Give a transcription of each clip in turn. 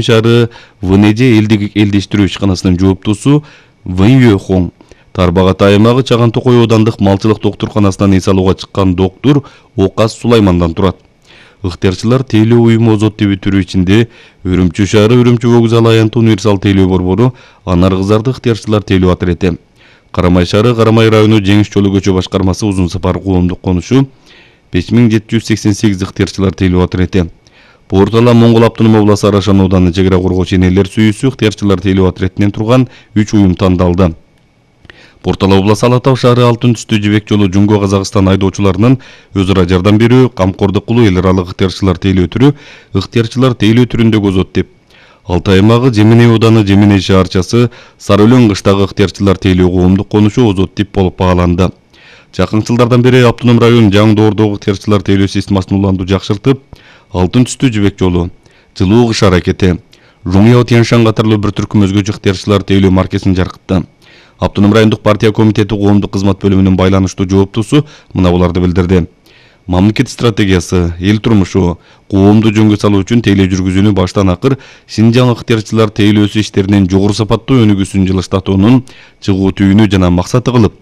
шаары ВНЖ элдештирүү ишканасынын жооптусу Вэн Юэхон Тарбагат аймагы Чаган Токой аудандык малчылык доктурканасынан эс алууга чыккан доктур Окас Сулаймандан турат. Ыктыярчылар тейлөө уюму Озот деп түрүү ичинде Үрүмчү шаары Үрүмчү вокзалы аянтуу универсал тейлөө борбору, Анар кыздарды ыктыярчылар тейлөө отряды, Карамай шаары Карамай району Жеңиш жолу көчө башкармасы Узун Сапар коомдук конушу 5788 ыктыярчылар тейлөө отряды, Портала Моңгол Автоном обласы Арашан ауданы чек ара коргоочу энелер сүйүүсү ыктыярчылар тейлөө отрядынан турган 3 уюм тандалды. Портала обласы Ала Тау шаары Алтын түстүү жибек жолу Жумго Казакстан айдоочуларынын өз ара жардам берүү, камкордук кылуу эл аралык ыктыярчылар тейлөө түрү ыктыярчылар тейлөө түрүндөгү Озот деп. Алтай аймагы Жемине ауданы Жемине шаарчасы Сары Өлөң кыштагы ыктыярчылар тейлөө коомдук конушу Озот деп болуп багаланды. Жакын жылдардан бери Автоном район Жаң доордогу ыктыярчылар тейлөө системасын улантуу жакшыртып, Алтын түстүү жибек жолу, жылуу кыш аракети, Жумьяо Тяньшан катарлуу бир түркүм өзгөчө ыктыярчылар тейлөө маркесин жаркытты. Автоном райондук партия комитети коомдук кызмат бөлүмүнүн байланыштуу жооптусу мына буларды билдирди. Мамлекет стратегиясы, эл турмушу, коомду жөнгө салуу үчүн тейлөө жүргүзүүнү баштан акыр Синжаң ыктыярчылар тейлөөсү иштеринин жогору сапаттуу өнүгүүсүн жылыштатуунун чыгуу түйүнү жана максаты кылып,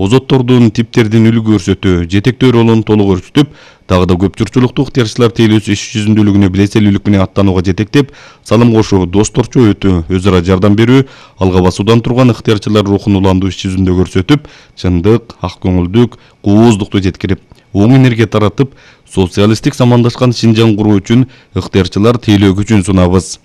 Озоттордун типтердин үлгү көрсөтүү, жетектөө ролун толук өрчүтүп, дагы да көп журтчулуктуу ыктыярчылар тейлөөсү иш жүзүндүүлүгүнө билеселүүлүк менен аттанууга жетектеп, салым кошуу, досторчу өтүү, өз ара жардам берүү, алга басуудан турган ыктыярчылар рухун уландуу иш жүзүндө көрсөтүп, чындык, ак көңүлдүк, кооздукту жеткирип, оң энергия таратып, социалисттик замандашкан Синжаң куруу үчүн ыктыярчылар тейлөө күчүн сунабыз.